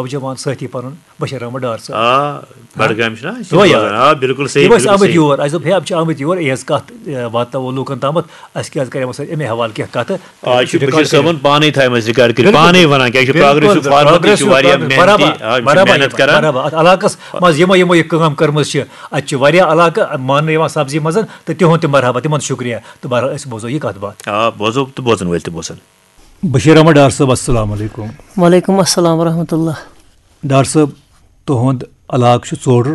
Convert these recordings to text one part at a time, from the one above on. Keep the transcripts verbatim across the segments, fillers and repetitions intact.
نوجوان سٲتھی پنُن بشیر احمد ڈار صٲب۔ آ بڈگامہِ چھُنہ أسۍ چھِ دۄہے بوزان۔ یاد۔ آ بِلکُل صحیح، یِم ٲسۍ بِلکُل آمٕتۍ صحیح۔ یور، اَسہِ دوٚپ ہے، یِم چھِ آمٕتۍ یور، یِہٕنٛز کَتھ، اے، واتناوو لوٗکَن تامَتھ، اَسہِ کیٛازِ کَرِ یِمو سۭتۍ اَمے حوالہٕ کینٛہہ کَتھٕ۔ آ یہِ چھُ record بشیر صٲبن کٔرِتھ۔ پانے تھایمژ record کٔرِتھ، بِلکُل، پانے ونان کیٛازِ چھُ بِلکُل، پراگریسو فارمر تہِ progressive چھُ واریاہ progressive، محنتی، برابر، آ، یِم چھِ برابر، محنت کران۔ برابر۔ اَتھ علاقَس منٛز یِمو یِمو یہِ کٲم کٔرمٕژ چھِ، اَتہِ چھِ واریاہ علاقہٕ ماننہٕ یِوان سبزی منٛز، تہٕ تِہُنٛد تہِ مرحبا، تِمن شُکریہ۔ تہٕ بہرحال أسۍ بوزو یہِ کَتھ باتھ۔ آ بوزو تہٕ بوزن وٲلۍ تہِ بوزن۔ بشیر احمد ڈار صٲب، السلام علیکم۔ وعلیکم السلام ورحمۃ اللہ۔ ڈار صٲب، تُہُنٛد علاقہٕ چھُ ژوڈُر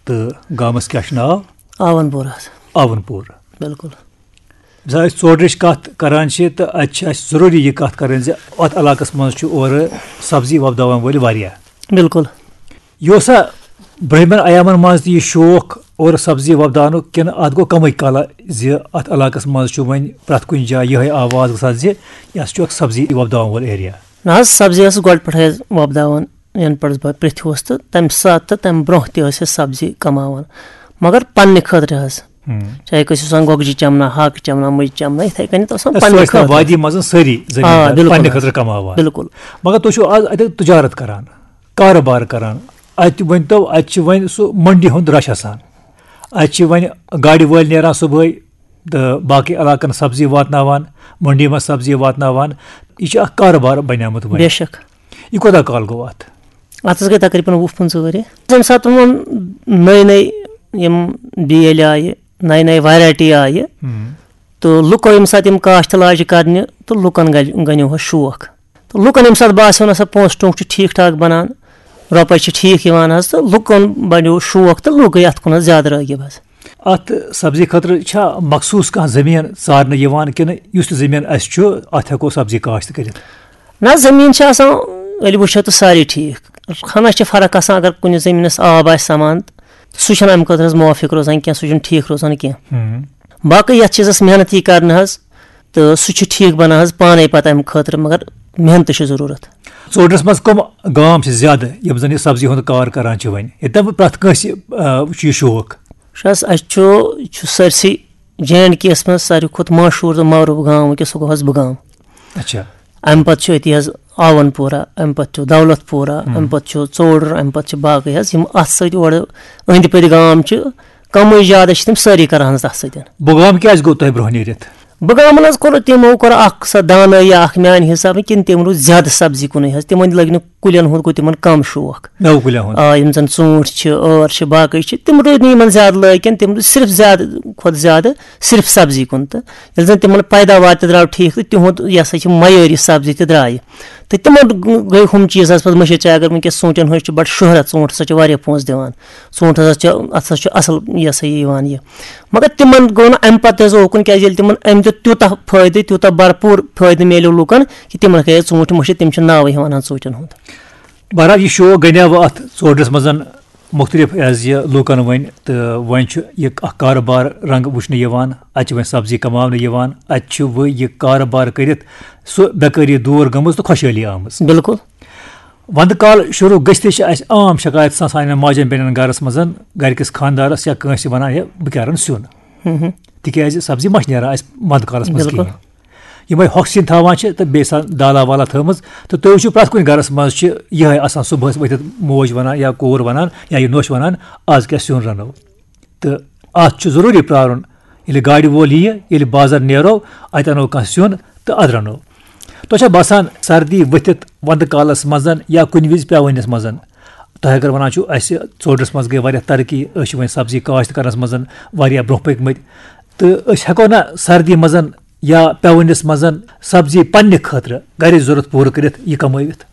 تہٕ گامَس کیٛاہ چھُ ناو؟ آون پوٗر حظ۔ آوَن پوٗر۔ بِلکُل۔ مثال أسۍ ژوڈرٕچ کَتھ کران چھِ تہٕ اَتہِ چھِ اَسہِ ضروٗری یہِ کَتھ کَرٕنۍ زِ اَتھ علاقَس منٛز چھُ اورٕ سبزی وۄپداوَن وٲلۍ واریاہ۔ بِلکُل۔ یہِ اوسا برٛونٛہمٮ۪ن ایامَن منٛز تہِ یہِ شوق اورٕ سبزی وۄپداونُک کِنہٕ اَتھ گوٚو کَمٕے کالہ زِ اَتھ علاقَس منٛز چھُ وۄنۍ پرٛٮ۪تھ کُنہِ جایہِ یِہوٚے آواز گژھان زِ یہِ ہسا چھُ اَکھ سبزی وۄپداوَن وول ایریا؟ نہ حظ، سبزی ٲسٕس گۄڈٕ پٮ۪ٹھَے حظ وۄپداوان، یَنہٕ پٮ۪ٹھ بہٕ پرٛژھ اوسُس تہٕ تَمہِ ساتہٕ تہٕ تَمہِ برونٛہہ تہِ ٲسۍ أسۍ سبزی کَماوان، مگر پنٛنہِ خٲطرٕ حظ۔ ہم۔ چاہے کٲنٛسہِ اوس آسان گۄگجہِ چَمنہ، ہاکہٕ چَمنہ، مُجہِ چَمنہ، یِتھَے کٔنٮ۪تھ اوس آسان تہٕ سُہ پنٛنہِ ٲسۍ تَتھ خٲطرٕ۔ وادی منٛز سٲری آ، زٔمیٖندار بِلکُل پنٛنہِ حظ۔ خٲطرٕ کَماوان۔ بِلکُل۔ مگر تُہۍ چھِو آز اَتہِ تجارت کران، کارٕبار کران، اَتہِ ؤنۍ تو، اَتہِ چھِ وۄنۍ سُہ منڈی ہُنٛد رش آسان، اَتہِ چھِ وۄنۍ گاڑِ وٲلۍ نیران صُبحٲے تہٕ باقٕے علاقن سبزی واتناوان، منڈی منٛز سبزی واتناوان، یہِ چھُ اکھ کارٕبار بنیومُت وۄنۍ۔ بے شک۔ یہِ کوٗتاہ کال گوٚو اَتھ؟ اَتھ حظ گٔے تقریٖباً وُہ پٕنٛژٕہ ؤری۔ ییٚمہِ ساتہٕ وۄنۍ نٔے نٔے یِم بیٲلۍ آیہِ، نَیہِ نَیہِ ویرایٹی آیہِ، ہم۔ تہٕ لُکو ییٚمہِ ساتہٕ یِم کاشتہٕ لاجہِ کَرنہِ، تہٕ لُکَن گَلہِ گَنیو حظ شوق۔ تہٕ لُکَن ییٚمہِ ساتہٕ باسیو نہ سا پونٛسہٕ ٹوٚنٛگ چھُ ٹھیٖک ٹھاک بَنان، رۄپَے چھِ ٹھیٖک یِوان حظ، تہٕ لُکَن بَنیو شوق تہٕ لُکھ گٔے اَتھ کُن حظ زیادٕ رٲغِب حظ۔ اَتھ سبزی خٲطرٕ چھا مخصوٗص کانٛہہ زٔمیٖن ژارنہٕ یِوان کِنہٕ یُس تہِ زٔمیٖن اَسہِ چھُ، اَتھ ہٮ۪کو سبزی کاشت کٔرِتھ؟ نہ، زٔمیٖن چھِ آسان، ییٚلہِ وٕچھو تہٕ سارے ٹھیٖک۔ ہَنہ چھِ فرق آسان، اگر کُنہِ زٔمیٖنَس آب آسہِ سَمان، تہٕ سُہ چھُنہٕ اَمہِ خٲطرٕ حظ موافق روزان کینٛہہ، سُہ چھُنہٕ ٹھیٖک روزان کینٛہہ۔ ہم۔ باقٕے یَتھ چیٖزَس محنت یی کَرنہٕ حظ، تہٕ سُہ چھُ ٹھیٖک بَنان حظ پانَے پَتہٕ اَمہِ خٲطرٕ، مگر محنتٕچ چھِ ضروٗرت۔ ژوڈرَس منٛز کٕم گام چھِ زیادٕ یِم زَن یہِ سبزی ہُنٛد کار کران چھِ وۄنۍ؟ ییٚتٮ۪ن وۄنۍ پرٛٮ۪تھ کٲنٛسہِ، آ، چھُ یہِ شوق۔ وٕچھ حظ، اَسہِ چھُ، یہِ چھُ سٲرسٕے جے اینڈ کے یَس منٛز ساروی کھۄتہٕ مشہوٗر تہٕ معروٗف گام وٕنکیٚس، سُہ گوٚو حظ بُگام۔ اچھا۔ اَمہِ پَتہٕ چھُ أتی حظ آوَن پوٗرہ، اَمہِ پَتہٕ چھُ دولت پوٗرہ، اَمہِ پَتہٕ چھُ ژوڈُر، اَمہِ پَتہٕ چھِ باقٕے حظ یِم اَتھ سۭتۍ اورٕ أنٛدۍ پٔتۍ گام چھِ، کَمٕے زیادٕ چھِ تِم سٲری کران حظ تَتھ سۭتۍ۔ بُگام کیٛازِ گوٚو تۄہہِ برٛونٛہہ نیٖرِتھ؟ بُگامَن حظ کوٚر تِمو کوٚر اَکھ سۄ دانٲیی اَکھ میٛانہِ حِسابہٕ، کِنہٕ تِم روٗدۍ زیادٕ سبزی کُنُے حظ، تِمَن لٔگۍ نہٕ کُلٮ۪ن ہُنٛد گوٚو تِمَن کَم شوق۔ مٮ۪وٕ کُلٮ۪ن ہُنٛد۔ آ، یِم زَن ژوٗنٛٹھۍ چھِ، ٲر چھِ، باقٕے چھِ، تِم روٗدۍ نہٕ یِمَن زیادٕ لٲگۍ کِنہٕ، تِم روٗدۍ صرف زیادٕ کھۄتہٕ زیادٕ صرف سبزی کُن۔ تہٕ ییٚلہِ زَن تِمَن پیداوار تہِ درٛاو ٹھیٖک تہٕ تِہُنٛد یہِ ہسا چھِ معیٲری سبزی تہِ درٛایہِ۔ تہٕ تِمَن گٔے ہُم چیٖز حظ پَتہٕ مٔشِتھ، چاہے اگر وٕنکیٚس ژوٗنٛٹھٮ۪ن ہٕنٛز چھِ بَڑٕ شہرت، ژوٗنٛٹھ ہسا چھِ واریاہ پونٛسہٕ دِوان، ژوٗنٛٹھ ہسا چھِ، اَتھ ہسا چھُ اَصٕل یہِ ہسا یہِ یِوان یہِ۔ مگر تِمَن گوٚو نہٕ اَمہِ پَتہٕ تہِ حظ اوکُن، کیٛازِ ییٚلہِ تِمَن أمۍ دیُت تیوٗتاہ فٲیدٕ، تیوٗتاہ بھرپوٗر فٲیدٕ میلیو لوٗکَن کہِ تِمَن گٔے ژوٗنٛٹھۍ مٔشِتھ، تِم چھِ ناوٕے ہٮ۪وان حظ ژوٗنٛٹھٮ۪ن ہُنٛد۔ بہرحال، یہِ شوق گنیاوٕ اَتھ ژوڈرِس منٛز مُختٔلِف ایز یہِ لوٗکَن وۄنۍ، تہٕ وۄنۍ چھُ یہِ اَکھ کارٕبار رنٛگ وٕچھنہٕ یِوان۔ اَتہِ چھِ وۄنۍ سبزی کماونہٕ یِوان، اَتہِ چھِ وۄنۍ یہِ کارٕبار کٔرِتھ سُہ بے کٲری دوٗر گٔمٕژ تہٕ خۄشحٲلی آمٕژ۔ بِلکُل۔ وَندٕ کال شروٗع گٔژھتٕے چھِ اَسہِ عام شکایت آسان سانٮ۪ن ماجٮ۪ن بیٚنٮ۪ن گَرَس منٛز، گَرِکِس خانٛدارَس یا کٲنٛسہِ وَنان، "ہے، بہٕ کیٛاہ رَنہٕ سیُن؟" تِکیٛازِ سبزی ما چھِ نیران اَسہِ وَندٕ کالَس منٛز بِلکُل۔ کِہیٖنۍ۔ یِمَے ہۄکھ سِنۍ تھاوان چھِ تہٕ بیٚیہِ آسان دالا والا تھٲومٕژ، تہٕ تُہۍ وٕچھِو پرٛٮ۪تھ کُنہِ گَرَس منٛز چھِ یِہوٚے آسان صُبحَس ؤتھِتھ موج وَنان یا کوٗر وَنان یا یہِ نوٚش وَنان، "آز کیٛاہ سیُن رَنو؟" تہٕ اَتھ چھُ ضروٗری پرٛارُن، ییٚلہِ گاڑِ وول یِیہِ، ییٚلہِ بازر نیرو، اَتہِ اَنو کانٛہہ سیُن تہٕ اَدٕ رَنو۔ تۄہہِ چھا باسان سردی ؤتھِتھ وَندٕ کالَس منٛز یا کُنہِ وِزِ پٮ۪وٲنِس منٛز، تۄہہِ اگر وَنان چھُو اَسہِ ژوڈرَس منٛز گٔے واریاہ ترقی، أسۍ چھِ وۄنۍ سبزی کاشت کَرنَس منٛز واریاہ برٛونٛہہ پٔکۍمٕتۍ، تہٕ أسۍ ہٮ۪کو نہ سردی منٛز یا پٮ۪وٲنِس منٛز سبزی پنٛنہِ خٲطرٕ گَرِچ ضوٚرَتھ پوٗرٕ کٔرِتھ یہِ کَمٲوِتھ؟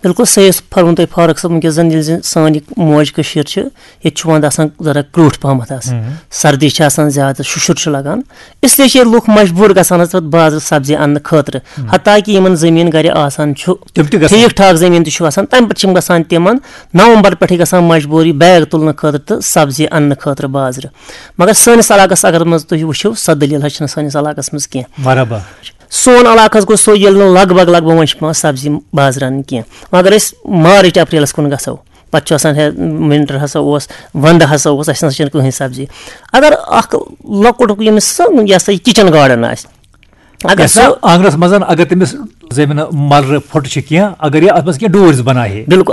بِلکُل صحیح فرموو تۄہہِ فاروق صٲب، وٕنکیٚس زَن ییٚلہِ زَن سٲنۍ یہِ موج کٔشیٖر چھِ، ییٚتہِ چھُ وَندٕ آسان ذرا کرٛوٗٹھ پَہمَتھ آسان، سردی چھِ آسان زیادٕ، شُشُر چھُ لَگان، اس لیے چھِ ییٚتہِ لُکھ مجبوٗر گژھان حظ پَتہٕ بازرٕ سبزی اَننہٕ خٲطرٕ۔ حتیٰ کہِ یِمَن زٔمیٖن گَرِ آسان چھُ، تِم تہِ گژھان۔ ٹھیٖک ٹھاک زٔمیٖن تہِ چھُ آسان، تَمہِ پَتہٕ چھِ یِم گژھان تِمَن نومبر پٮ۪ٹھٕے گژھان مجبوٗری بیگ تُلنہٕ خٲطرٕ تہٕ سبزی اَننہٕ خٲطرٕ بازرٕ۔ مگر سٲنِس علاقَس اگر منٛز تُہۍ وٕچھِو، سۄ دٔلیٖل حظ چھِنہٕ سٲنِس علاقَس منٛز کینٛہہ۔ مرحبا۔ سون علاقہٕ حظ گوٚو سُہ، ییٚلہِ نہٕ لگ بگ، لگ بگ وۄنۍ چھِ پٮ۪وان سبزی بازرٕ اَنٕنۍ کینٛہہ۔ وۄنۍ اگر أسۍ مارٕچ اپریلَس کُن گژھو، پَتہٕ چھُ آسان ہے، winter ہسا اوس، وَندٕ ہسا اوس، اَسہِ نہ سا چھَنہٕ کٕہٕنۍ سبزی۔ اگر اَکھ لۄکُٹ ییٚمِس سُہ، یہِ ہسا یہِ kitchen garden آسہِ، اگر یتھ سُہ آنگنس منٛز اگر تٔمِس زٔمیٖن ملرٕ پھۄٹہٕ چھِ کینٛہہ، اگر یہِ اتھ منٛز کینٛہہ ڈوٗرۍ زٕ بناوِ ہے۔ بِلکُل، آ،